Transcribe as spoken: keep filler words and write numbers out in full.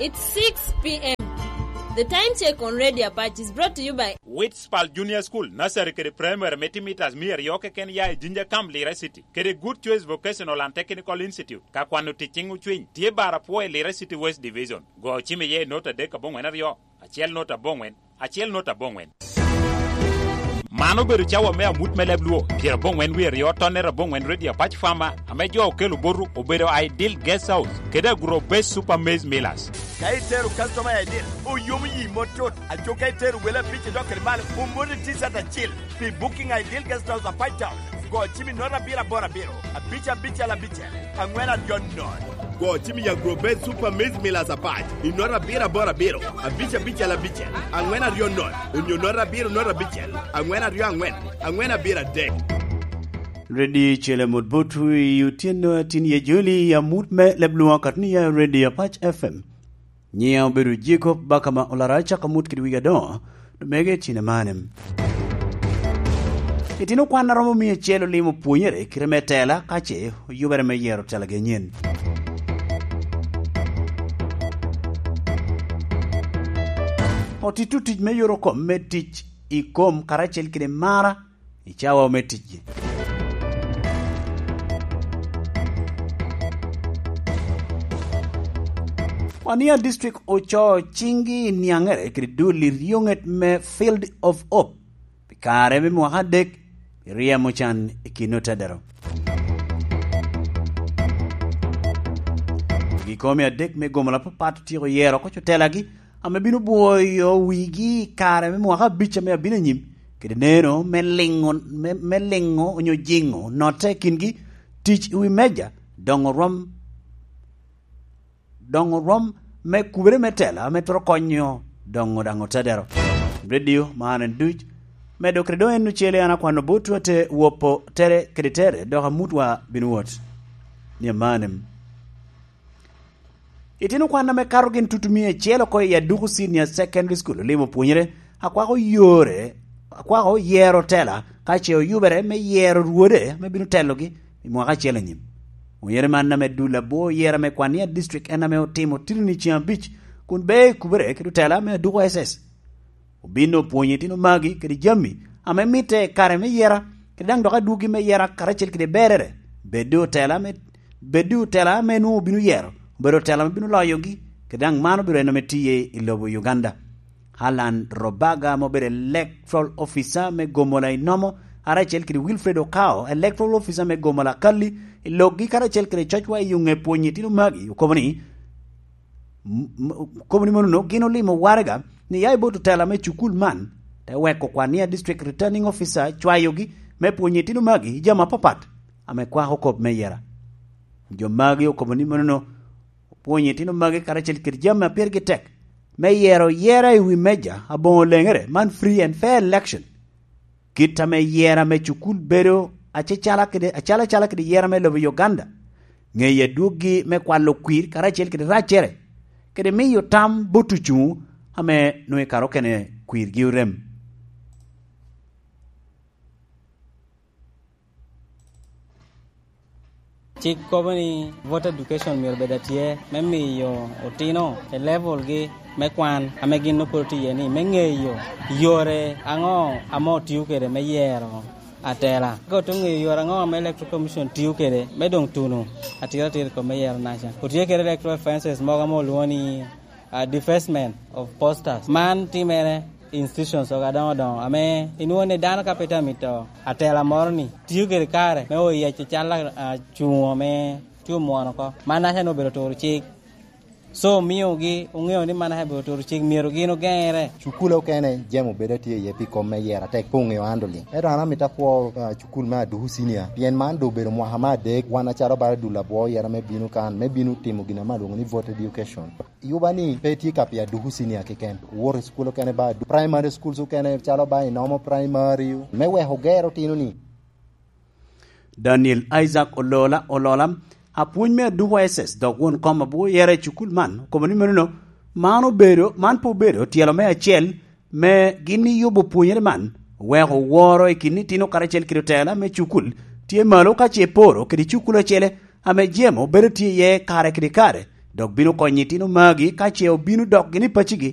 It's six p.m. The time check on Radio Apache is brought to you by Witspal Junior School, Nursery kede Primary me timo mitas mia aryo keken ya i Jinja Camp, Lira City, kede Good Choice Vocational and Technical Institute, ka kwano tic ciŋ ocwiny, tye bar apwo i Lira City West Division. Go ocim iye i nota adek aboŋwen aryo, acel nota aboŋwen, acel nota aboŋwen. Man obedo cawa me amut me leb Luo, pyeraboŋwen wie aryo, tonnere aboŋwen, Radio Apache Farmer, ame jo okelo botu obedo Ideal Guest House kede Agro Base Super Maize Millers. Ka itero customer I D, oyomo yi mot tut. Aco ka itero wele abic idok kede malo, omoti T-shirt acil. Pi booking Ideal Guest House Apac Town, go cim i nota abiro aboro abiro, abic abicel abicel, aŋwen aryo not. Go cim i Agro Base Super Maize Millers Apac i nota abiro aboro abiro, abic abicel abicel, aŋwen aryo not, onyo nota abiro not abicel, aŋwen aryo aŋwen, aŋwen abiro adek. Ready cele mot botu i otyeno atin ye joli i amut me leb Luo katni ya Ready Apac F M. Nyiŋa obedo Jacob Bakama Olara, acako amut kede wigi adoŋo, omege i cine mane. Itino kwan a romo mia acel olimo pwonyere i kite me tela, ka ce oyubere me yero telagi anyen. Otito tic me yoro kom me tic i kom karacel kede mara i cawa me ticgi. Wania District ocoo ciŋgi i niaŋere kede dul i ryoŋet me Field of Hope pi kare me mwaka adek pi ryemo can i kin otedero. Gikome adek me gomola papat otyeko yero oko cotelagi ame bino bwoyo wigi i kare me mwaka abic ame abino anyim, kede neno me liŋo, me, me liŋo onyo jiŋo notte i kingi, tic i wi meja, doŋo rwom, doŋo rwom me kubere me tela ame twero konyo doŋo daŋ otedero. Redio man en duc, medo kede doŋ en ocele an akwano botwu ate wopo tere kede tere, dok amutwa bino wot. Ni amanem. Itino kwan ame kato gin tutumia acel oko i Aduku Senior Secondary School olimo pwonyere, akwako yore, akwako yero tela, ka ce oyubere me yero rwode ame bino telogi i mwaka acel anyim. Pwonyere man ame dul abwo yero ame kwan ni a district en ame otimo titini ceŋ abic, kun bea i kubere kede otela me Aduku S S. Obin opwonyo itino magi kede jami ame mitte i kare me yera, kede daŋ dok adwogi me yera karacel kede berere. Bedde otela me, bedde otela ame nwoŋo obino yero, obedo otela ame bino loyogi, kede daŋ man obedo en ame tiye i lobo Uganda. Alan Robaga ame obedo Electoral Officer me Gomola i Nomo, karacel kede Wilfred Okao, Electoral Officer me Gomola Kalli, i lokgi karacel kede cocwa i onge pwonyo itino magi, okobo ni, M-, m-, kobo ni monono, gin olimo waraga ni ya i bot otela me cukul man, te weko kwan ni a District Returning Officer cwayogi me pwonyo itino magi i jami apapat ame kwako kop me yera. Jo magi okobo ni monono, opwonyo itino magi karacel kede jami a pirgi tek me yero yera i wi meja aboŋo leŋere, man free and fair election. Kit ame yera me cukul bedo acecala kede, acalacala kede yera me lobo Uganda, ŋeyo adwoggi me kwalo kwir karacel kede raccere, kede miyo tam bot ocuŋo ame nwoŋo i kare okene kwirgi orem. Cik kobo ni voter education myero bed atye me miyo otino i levelgi me kwan ame gin nwoŋo pwod otye iye ni, me ŋeyo yore aŋo ame otio kede me yero atela. Ka ote ŋeyo yore aŋo ame Electoral Commission tio kede me doŋ tuno atira atira i kom me yero naca. Otye kede electoral fences mogo ame olwoŋo ni, ah, defacement of posters. Man timere i institutions ogo adoŋo doŋo ame inwoŋo ni dano ka pe tye amito atela moro ni, tio kede kare me oyeco cal a-, acuŋo me tye omwono oko. Man naca ni obedo turo cik. So, omiogi oŋeo ni man naca obedo turo cik, myero gin ogeŋere. Cukule okene jemo bedo atye iye pi kom me yero atek pe oŋeo handling. Ento an amito apwo, ah, cukul me Aduku Senior, pien man doŋ obedo mwaka me adek, wan acalo bala dul abwo yero me bino kan, me bino timo gin ame alwoŋo ni voter education. Yuba ni pe tye ka pi Aduku Senior keken. Wot i cukul okene ba Adu-, primary schools okene calo ba Inomo Primary, me weko ger otino ni. Daniel Isaac Olola, Olola, apwony me Aduku S S, dok won kom abwoyere i cukul man, okobo ni menono, man obedo, man pe obedo tyelo me acel me gin iyubo pwonyere man, oweko woro i kin itino karacel kede otela me cukul tye malo ka ce poro kede cukul acele ame jemo bedo tye iye kare kede kare, dok bino konyo itino magi ka ce obino dok gini i pacigi.